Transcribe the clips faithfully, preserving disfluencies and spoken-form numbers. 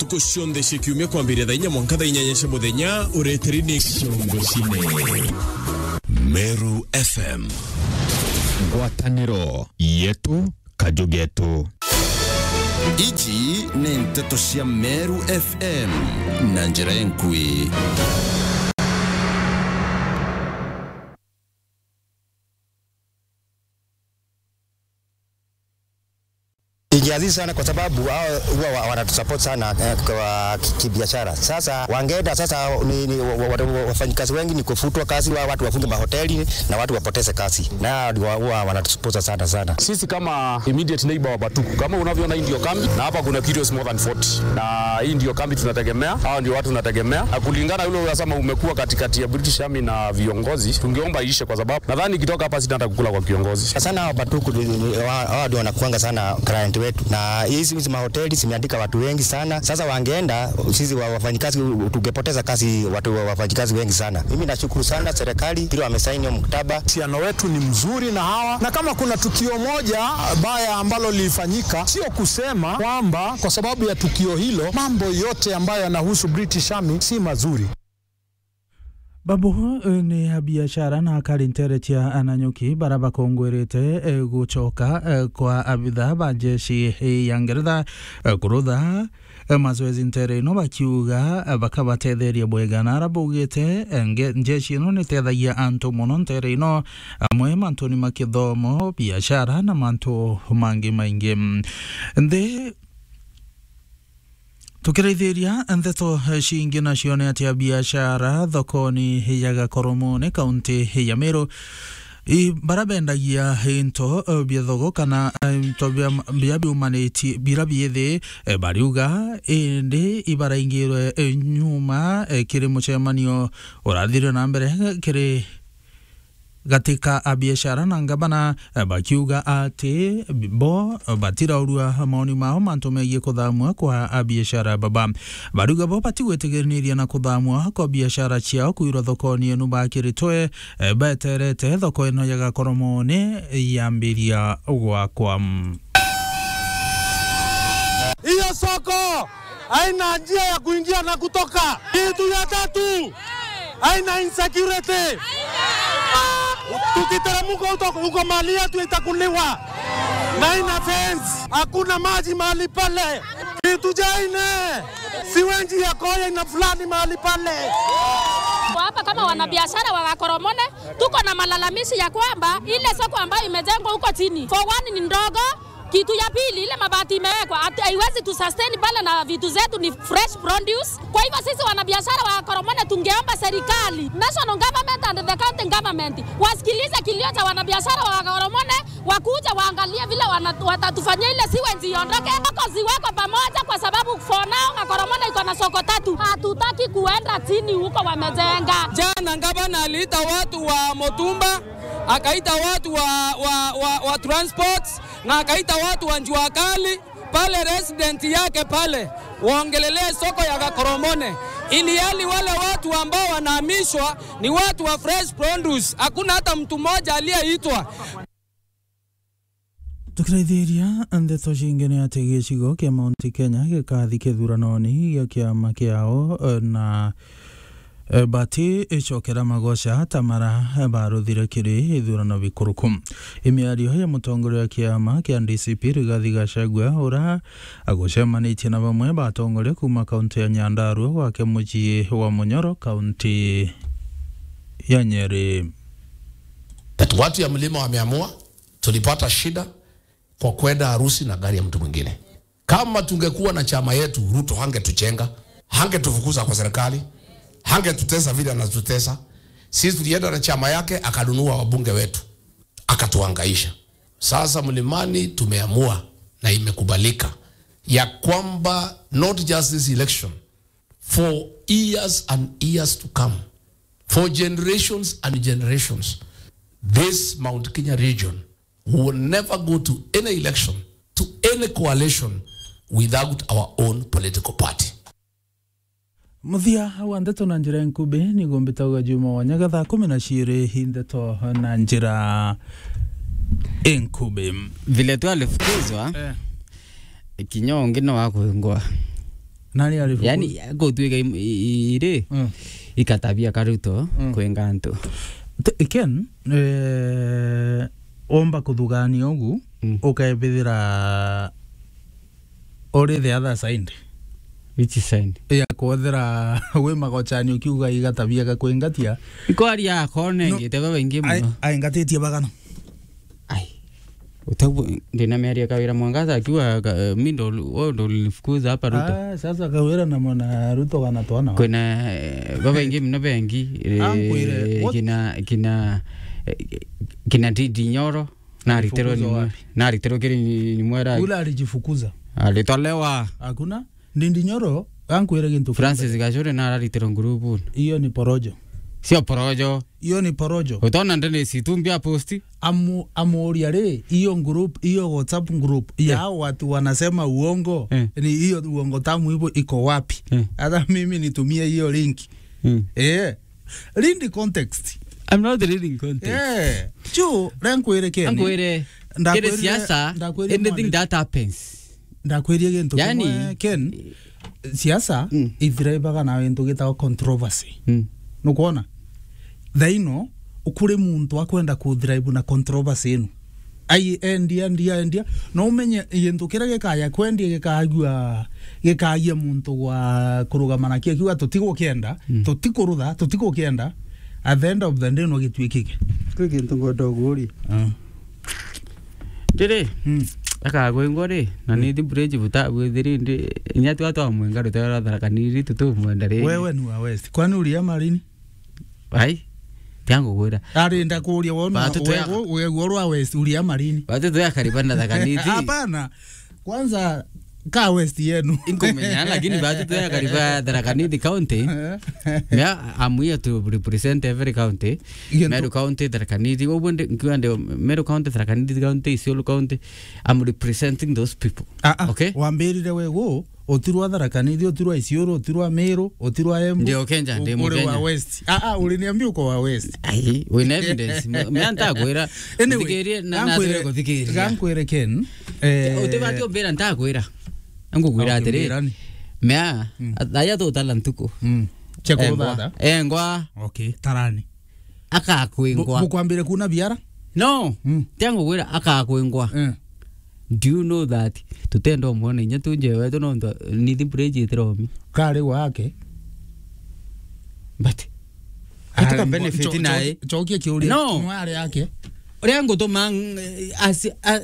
Ntuku cionthe cia kiumia kwambiria thaa inya mwanka thaa inyanya cia muthenya, ureteri ni Ciongo Cine. Meru F M. Ngwataniro yetu, kaju getu. Iji ni nteto cia Meru F M na njira enkui. Ingiazizi sana kwa sababu hao huwa wa-, wanatusupport sana, eh, kwa ki-, kibiashara. Sasa wangeenda sasa ni, ni wa-, wa-, wa-, wafanyikazi wengi ni kufutwa kazi, wa-, watu wafunge mahoteli na watu wapoteze kazi. Na hao ndio huwa wanatusupport sana sana. Sisi kama immediate neighbor wa Batuku, kama unavyoona hii ndio kambi, na hapa kuna kitu is more than forty. Na hii ndio kambi tunategemea, hao ndio watu tunategemea. Na kulingana yule unasema umekuwa katikati ya British Army na viongozi, tungeomba iishe kwa sababu nadhani ikitoka hapa sina hata kukula kwa kiongozi. Sana hao Batuku ni, ni, wa-, hao ndio wanakuanga sana client wetu. Na hizi, hizi mahoteli zimeandika watu wengi sana. Sasa wangeenda, sisi wa-, wafanyikazi, tungepoteza kazi, watu wa-, wafanyikazi wengi sana. Mimi nashukuru sana serikali, vile wamesaini hiyo mkataba. Uhusiano wetu ni mzuri na hawa. Na kama kuna tukio moja baya ambalo lilifanyika, sio kusema kwamba kwa sababu ya tukio hilo, mambo yote ambayo yanahusu British Army si mazuri. Babu, eh, ni a biashara na akari ntere cia Nanyuki bara bakongwerete, eh, gucoka, eh, kwa abitha ba njeshi, eh, ya Ngeretha, eh, kurutha, eh, mazoezi ntere ino bakiuga, eh, bakabatetheria bwega. Na ara baugite, eh, nge-, njeshi ino nitethagia antu mono ntere ino, amwe mantuni ma kithomo, biashara na mantu mangi maingi. Nthi Tukiraithiria nteto, eh, cingi nacio ni ati a biashara thokoni ya Gakoromone, kaunti ya Meru, i-, bara bendagia into, eh, bia thogo kana, eh, into bia, bia biumanitie, bira bithi, eh, bariuga, indi ibaraingirwe, eh, nyuma, eh, kiri mucemanio urathire na mbere kiri gati ka abiashara na ngavana, eh, bakiuga ati bo batiraurua maoni mao mantu megie kuthamua kwa abiashara baba. Bariuga bo batigwitigiraniria na kuthamua kwa biashara ciao kwirwa thokoni enu bakiritwe, eh, beterete thoko ino ya Gakoromone yambiria gwakwa. Hiyo soko haina njia ya kuingia na kutoka. Kitu ya tatu, haina insecurity. Tukiteremka huko, huko mali yetu itakuliwa. Na haina fence, hakuna maji mahali pale. Kitu cha nne, siwenji ya koya ina fulani mahali pale. Kwa hapa kama wanabiashara wa Gakoromone, tuko na malalamishi ya kwamba ile soko ambayo imejengwa huko chini, for one, ni ndogo, kitu ya pili, ile mabati imewekwa, hatu-, haiwezi tu sustain pale na vitu zetu ni fresh produce. Kwa hivyo sisi wanabiashara wa Gakoromone tungeomba serikali, national government and the county government, wasikilize kilio cha wanabiashara wa Gakoromone, wakuje waangalie vile wana-, watatufanyia ile sewage iondoke. Soko ziwekwe pamoja kwa sababu for now Gakoromone iko na soko tatu. Hatutaki kuenda chini huko wamejenga. Jana gavana aliita watu wa Mutumba, akaita watu wa, wa, wa, wa transports, na akaita watu wa Jua Kali pale resident yake pale, waongelelee soko ya Gakoromone, ili hali wale watu ambao wanahamishwa ni watu wa fresh produce. Hakuna hata mtu mmoja aliyeitwa. Tukiraithiria ndeto cingi ni ati gicigo kia Mount Kenya gikathi kithuranoni gia kiama kiao, eh, na Eh, bati icokera magoca ta mara, eh, baruthire kiri ithurano bikuruku. Imiario ya mutongoria wa kiama kia D C P Rigathi Gachagua, ura agucemanitie na bamwe batongoria kuma kaunti ya Nyandarua gwake mucii wa Munyoro, kaunti ya Nyeri. That watu ya mlima wameamua, tulipata shida kwa kwenda harusi na gari ya mtu mwingine. Kama tungekuwa na chama yetu, Ruto hangetuchenga, hangetufukuza kwa serikali, hangetutesa vile anatutesa. Sisi tulienda na chama yake, akanunua wabunge wetu, akatuhangaisha. Sasa Mlimani tumeamua na imekubalika ya kwamba not just this election, for years and years to come, for generations and generations, this Mount Kenya region will never go to any election, to any coalition without our own political party. Muthia wa ndeto na njira nkubi, ni gumbita uga juma wa nyaga thaa kumi na ciiri hi ndeto na njira nkubi. Vile tu alifukuzwa, eh, kinya ungi no akwingwa. Nani ari fukuza? Yani, gutwika im-, i-, i-, iri, Mm. ikatabia karuto Mm. kwenga antu. T-, Ken, eh, omba kuthugania ugu, Mm. ukebithira uri the other side. Which side? Ya kwethira wi magochani ukiuga igatabia gakwengatia. Ikwaria akone No. ngite baba ingi Ai-, muno. Aingatitie bagana. Ai. Utabu, ndina miario ya Kawira Mwangaza akiwa ka-, eh, mi ndo, wewe ndo ulinifukuza hapa Ruto. Ah, sasa Kawira na mwana Ruto kana twana. Kwina, eh, baba ingi mno bengi, eh, Ankwire, what? kina, kina, eh, kina Ndindi Nyoro, na Alifukuzwa ritero ni mwe-, wapi? Na ritero kiri ni, ni mwera. Ule alijifukuza. Alitolewa. Hakuna. Ndindi Nyoro, ankwire gintu kimwe. Francis Gachuri na ritero ngurubu. Hiyo ni porojo. Sio porojo. Hiyo ni porojo. Utaona Dennis Itumbi a posti? Amu-, amuuria ri, hiyo group, hiyo WhatsApp group ya Eh. hao watu wanasema uongo, Eh. ni hiyo uongo tamu hivyo iko wapi? Eh. Hata mimi nitumie hiyo link. Mm. Eh. Read the context. I'm not reading context. Eh. Chu, rankwire Ken. Ankwire, Ndakwirire, kiri siasa, ndakwirire anything mwana. That happens. Ndakwirie gintu Yani, kimwe, Ken, siasa Mm. ithiraivaga na gintu gitagwa controversy. Mm. Nukwona? Thaino, kuri muntu akwenda kuthiraivu na controversy ino. Ai, endia, endia, endia. No umenye gintu kiria gikaya kwendia gikagua, gikagia muntu gwa kurugama nakio, akiuga, "Tutigukienda, Mm. tutikurutha, tutigukienda." At the end of the day, no gituikike. Kwi gintu ngwenda uguria. Ah. Ndiri, Mm. akagwingwa ri, na Mm. ni thi bridge buta, bwithiri ndi, inya twa twa mwenga rutera rwa Tharaka Nithi tutumwenda ri. Wewe ni wa West. Kwani uria marini? Ai, tiangu gwira. Ari ndakuria wona, Batu tuya- wewe, wewe rwa West, uria marini? Batu tuya kariba na Tharaka Nithi. Hapana. Kwanza, ka West yenu. Inkumenya, lakini batu tuya kariba Tharaka Nithi County. Mea, I'm here to represent every county. Gintu- Meru County, Tharaka Nithi, uguo ndi, nkiuga ndi Meru County, Tharaka Nithi County, Isiolo County. I'm representing those people. Ah, ah, Okay? wambirire we gu, utirwa Tharaka Nithi, utirwa Isiolo, utirwa Meru, utirwa Embu. Ndio Kenya, ndi uri wa Mukenya. West. Ah, ah, uliniambia uko wa West. Ai, wina evidence. Me-, mea ntakwira. Anyway, uthikirie na, na gankwire, atwire kuthikiria. Gankwire Ken, eh, utibati umbira ntakwira. Ngugwira Okay, atiri. Mbirani. Mea, Mm. aya tutala ntuku. Mm. Cheko Engwa. Baba. Engwa. Okay, tarani. Akakwingwa. Bu-, bukwambire kuna biara? No. Mm. Tiangugwira akakwingwa. Eh. Do you know that tutenda umwona inya tunje wetu nontu Nithi Bridge itiromi? Kari wake. But Atuka benefit cho-, nae. Cho-, chokia kiuria. No. Kimwe ari yake. Uria ngutuma, mm, as, a, a,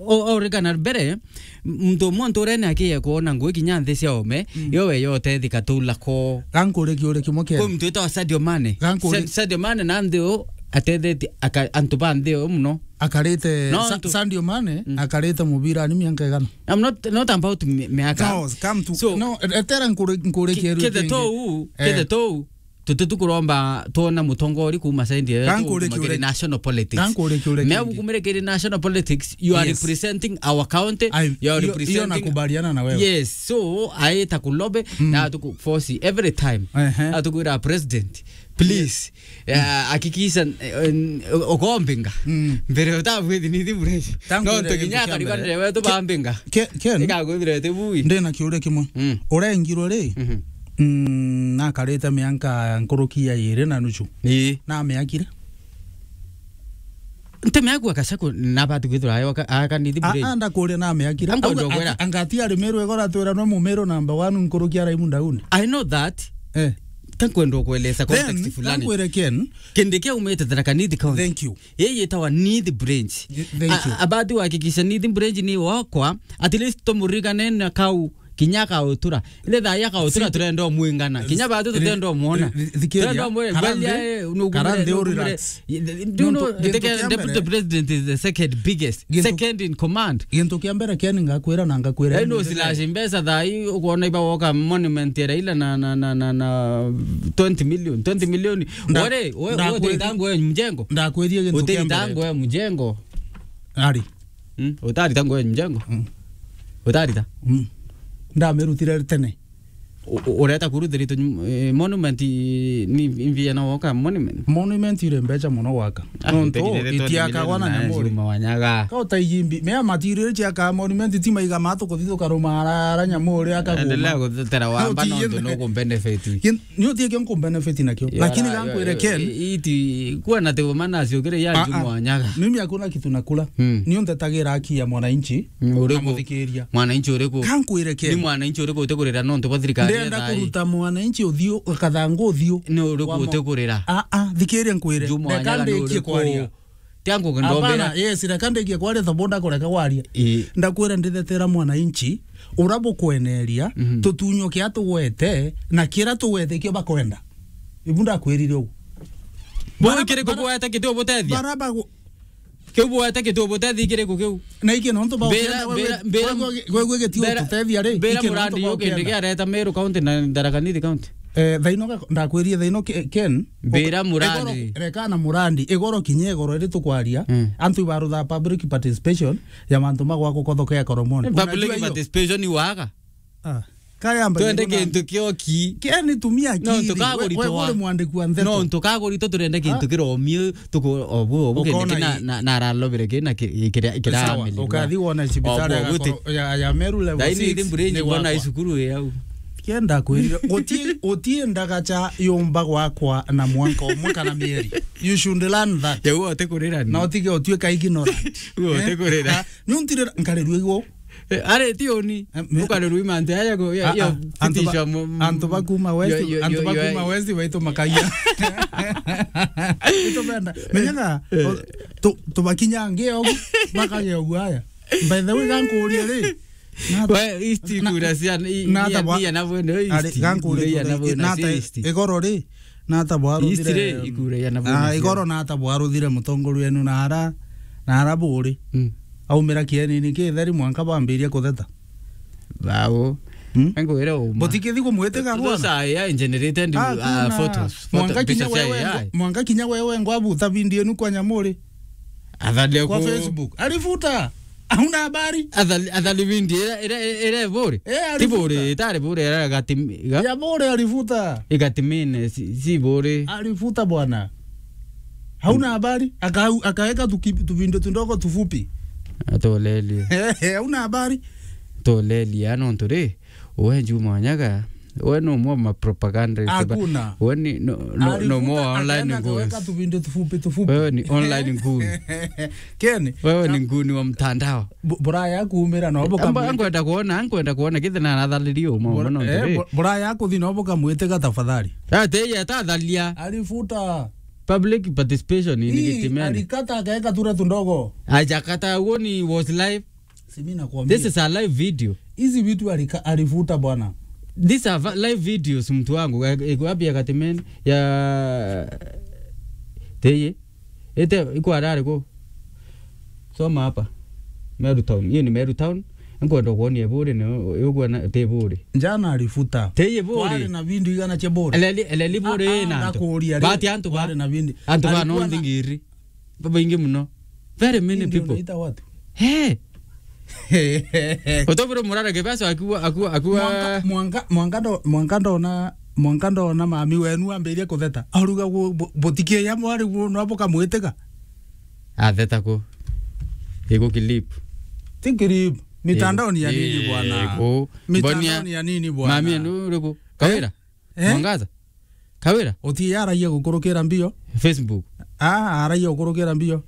o, o, urikana mbere, muntu umwe nturene akiye kwona ngui kinya nthi cia ome, Mm. yo we yotethika tula ko. Gankuri kiuria kimwe kiri. Kwi muntu witagwa Sadio Mane. Gankuri- Sa-, Sadio Mane na nthi u atethetie aka-, antu ba nthi u muno. Akarite No, Sa-, ntu- Sadio Mane, Mm. akarite mubira ni mianka igana? I'm not, not about mi-, miaka. No, come to, So, no, etera nkuri, nkuri ki-, kiuria kithe kingi. Tou, Eh. kithe tou, Tuti tu kuromba twona mutongori kuuma side yetu Gankuri kumagiri kiuria- national politics. Gankuri kiuria Mea kingi. Gukumire kiri national politics, you are Yes. representing our county, I, you are hiyo, hiyo representing nakubaliana na wewe. Yes, so aita kulobe Mm. na tuku force every time. Ehe. Atukwira president, please, Yes. eh, hakikisha, eh, eh, ukombinga. Mm. Mbere utabwithi ni thimure. Gankuri No, kiuria tukinya kingi kariba mbere. Ndewe tu Ke-, bambinga. Ke-, Ken, Ika gwithire tibui. Ndina kiuria kimwe. Mm. Urengirwe ri? Mhm. Mm, nakarite mianka nkuruki ya iri na nuchu. Ii. Namiakire. Nte miaku akasako nabati kwithirwa ayo aka-, aka ni thibure. A, a, ndakuria namiakire. Ango Auga ndogwera. Ati, anga ati ari Meru igora twira no Mumeru number one nkuruki ya Raimu Ndauni. I know that. Eh. Tankwenda kueleza Then, context fulani. Tankwire Ken. Kindi kia umite Tharaka Nithi County. Thank you. Yeye yetawa Nithi Bridge. Y-, thank you. A, abati kuhakikisha Nithi Bridge ni wakwa, at least tumurigane na kau kinya akautura. Ile thaa ya akautura Thi-, turenda umwingana. Kinya batu thi-, tutenda umwona. thi-, thikiria. Turenda umwona. Karanthe, Gwalia, eh, nugumire, karanthe, nugumire. Relax. Y-, do you Nontu know, gintu the kia deputy mbere president is the second biggest, gintu second in command. Gintu kia mbere Ken ngakwira na ngakwira. Eh, no, slash mbesa thaa hii, ukwona iba woka monument ya Raila na, na, na, na, na twenty million, twenty million. Nda-, Wore, we, ndakwiri-, we, uteitangwe mjengo. Ndakwiri gintu kia mbere. Uteitangwe mjengo. Ari. Mm, utarita ngwe njengo? Mm. Utarita? Mm. Ndamirutire tene. U-, u-, ureta kuruthirite, eh, monument i-, ni, ni mbia na woka monument? Monument iri mbeca mono gwaka. Ah, nontu itiakagwa na nyamuri. Mwanyaga. Ka utaijimbi, mea material ciaka monument ti maiga matu kuthi tukaruma ara, ara nyamuri akaguma. Endelea guthetera wamba nontu no kumbenefit. Ni utie kio nkumbenefit nakio. Lakini gankwire Ken. Iti, kuwa na tebo mana ciukire ya Juma Wanyaga. Mimi hakuna kitu nakula. Mm. Ni undetagira haki ya mwananchi. Mm, uriku? Mwananchi uriku? Kankwire Ken. Ni mwananchi uriku utikurira nontu bwa thirikari ya thai? Ndenda kuruta mwananchi uthiu, kathangu uthiu. Ni uriku utikurira? Ah, ah, thikiria nkwire. Juma Wanyaga ni uriku? Tiangu ndombera. Hapana, yes, reka ndikie kwaria tabo ndakureka waria. Ii. Ndakwira ndithetera mwananchi, ura bukweneria, tutunyo kia tugwete, na kira tugwete kio bakwenda. Ibu ndakwirire ugu. Bo kiriku bwete kitu butethia? Bara bagu- Kiu bwete kitu butethia kiriku kiu? Na iki nontu ba ukenda wewe, wewe, wewe gitio tutethia ri, mbira iki nontu murandi ba ukenda. Ukende kia reta Meru County na Tharaka Nithi County. Eh, thaino ga-, ndakwirie thaino Ke-, Ken. Mbira murandi. Igoro, reka na murandi, igoro kinya igoro iri tukwaria, antu ibarutha public participation ya mantu magwa kuthoka ya Koromoni. Public participation iwaga? Ah, kayamba twende kintu kio ki. Ken, tumia akili. No, tukagurito. We, we uri mwandiki wa ndeto. No, tukagurito turende kintu kiromio. Tuku-, obu, obu kindi kina, na, na aralobire kina ki-, kira, kira. Sawa, ukathi wona cibitari ya Meru level six. Thaini mbure ni nyimbo na wakwa. Icukuru yau. Kenda kwirira, guti, guti ndagacha yumba gwakwa na mwanka umwe kana mieri. You should learn that. Yau ote kurira ni. Na utige utuika ignorant. Uo ote kurira. Ni untirira nkarirwe igo. Eh, are ti uni. Eh, me- Ukare rui mantu aya go, ya, ah, ya, ah, antu ba-, antu ba kuma west, yo, yo, antu yo, ba yo, kuma west baitu makagia. Itu benda. Menyaga, eh, o, tu, tubakinya nge ogu, makage ogu aya. By the way, gankuria ri. Na we, isti na, kura cia, i, na mia, tabwa-, mia na bwene, ari, isti, gankuria mia na kura, bwene, na ta isti. Igoro ri, na ata bwaruthire, East Ray, ikura ya Nabwene ah, cia. Igoro na ata bwaruthire mutongoria wenu na ara, na ara buri. Mm. Aumira kienini kitheri mwanka bambiria kutheta. Bao. Hmm? Ngwire uma. Butikithi kumwitiga bwana. Those are A I generated, ah, uh, kuna photos. Photo, mwanka kinya picha cia wewe A I. Ngo-, mwanka kinya wewe ngwabuta video inu kwa nyamuri. Athalia kwa ku- Facebook. Alifuta. Hauna habari? Athali, athali video ira, ira, ira, ira bure. Eh, ti alifuta. Bure, itari bure, ira gatim-, ga- Ya bure alifuta. Igatimine, si, si bure. Alifuta bwana. Hauna habari? Aka-, akaweka tuki-, tuvindo tundogo tufupi. Atolelie. Eh, eh, hauna habari? Tolelie, ano nturi. We Juma Wanyaga, we no mwa ma propaganda. Hakuna. We ni no, no, no mwa online ngui. Alifuta, akaenda akaweka tuvindo tufupi, tufupi. Wewe ni online ngui. Ken, wewe ni nguni wa mtandao. Bu-, buraya kuumira no bukamwite. Amba, nkwenda kuona, nkwenda kuona kithe na nathaliri uma. Bur-, uma no eh, ndiri. Bu-, buraya kuthi no bukamwite ga tafadhali. Ate ya tathalia. Alifuta. Public participation in Ii, Gitimene. Alikata akaweka tura tundogo. Ajakata, uoni was live. Si mimi nakwambia. This is a live video. Hizi vitu alika-, alifuta bwana. These are va-, live videos, mtu wangu. Eh, iko wapi ya Gatimeni? Ya Teye. Ete, iko arare ko. Soma hapa. Meru Town. Hiyo ni Meru Town. Nkwenda kuonia bure ni uguo na te bure. Jana alifuta. Teye bure. Wale na vindu igana cia bure. Eleli, eleli bure. Ah, ah, na antu. Ndakuria ri. Bati antu ba. Wale na vindu. Antu ba no ndingiri. Babaingi muno. Very many people. Ndio unaita watu. He. Utobure murara kibesa akiwa, akiwa, akiwa. Mwanka, mwanka, mwanka ndo-, mwanka ndona, mwanka ndona mami wenu ambirie kutheta. Aruga gu-, bu-, butikie ya mwari gu-, no bukamwitiga. Atheta ku. Igu clip. Ti clip. Mitandaoni ya nini bwana? Igu. Mitandaoni ya nini bwana? Mami enu uriku? Kawira? Eh? Mwangaza? Kawira? Uti aragia gukurukira mbio? Facebook. Ah, aragia gukurukira mbio.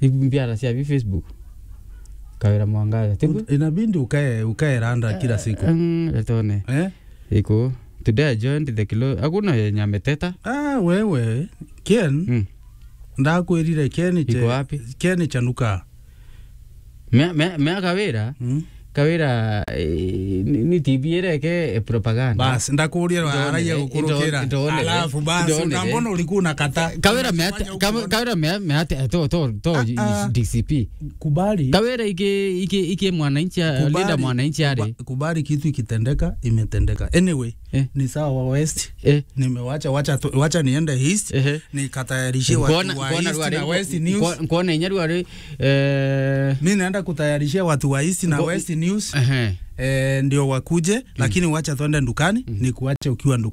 Ibu mbiara cia bi Facebook. Kawira Mwangaza. Tibu? Ut-, inabidi ukae, ukae randa kila siku. Mm, letone. Eh? Iko. Today I joined the kilo. Hakuna yenye ameteta. Ah, wewe, Ken. Mm. Ndakwirire Ken che-, iko wapi? Ken chanuka. Mea, mea, mea Kawira, mm, Kawira, eh, ni, ni T V ireke, eh, propaganda. Bas, ndakuria aragia gukurukira. Alafu bas, ndone, ndambona uriku na kata. Kawira mea, Kawira mea, mea, to, to, to, ah, ah. D C P. Kubali. Kawira iki, iki, iki mwananchi, kubali, linda mwananchi ari. Kuba-, kubali kitu ikitendeka, imetendeka. Anyway, eh, ni sawa wa West. Eh. Nimewacha, wacha tu, wacha niende East. Ehe. Nikatayarishie watu wa East na West News. Nkuona inya rwari, eh, mi naenda kutayarishia watu wa East na West News. news. Ehe. Eh, ndio wakuje, lakini wacha twende ndukani, ni kuache ukiwa ndukani.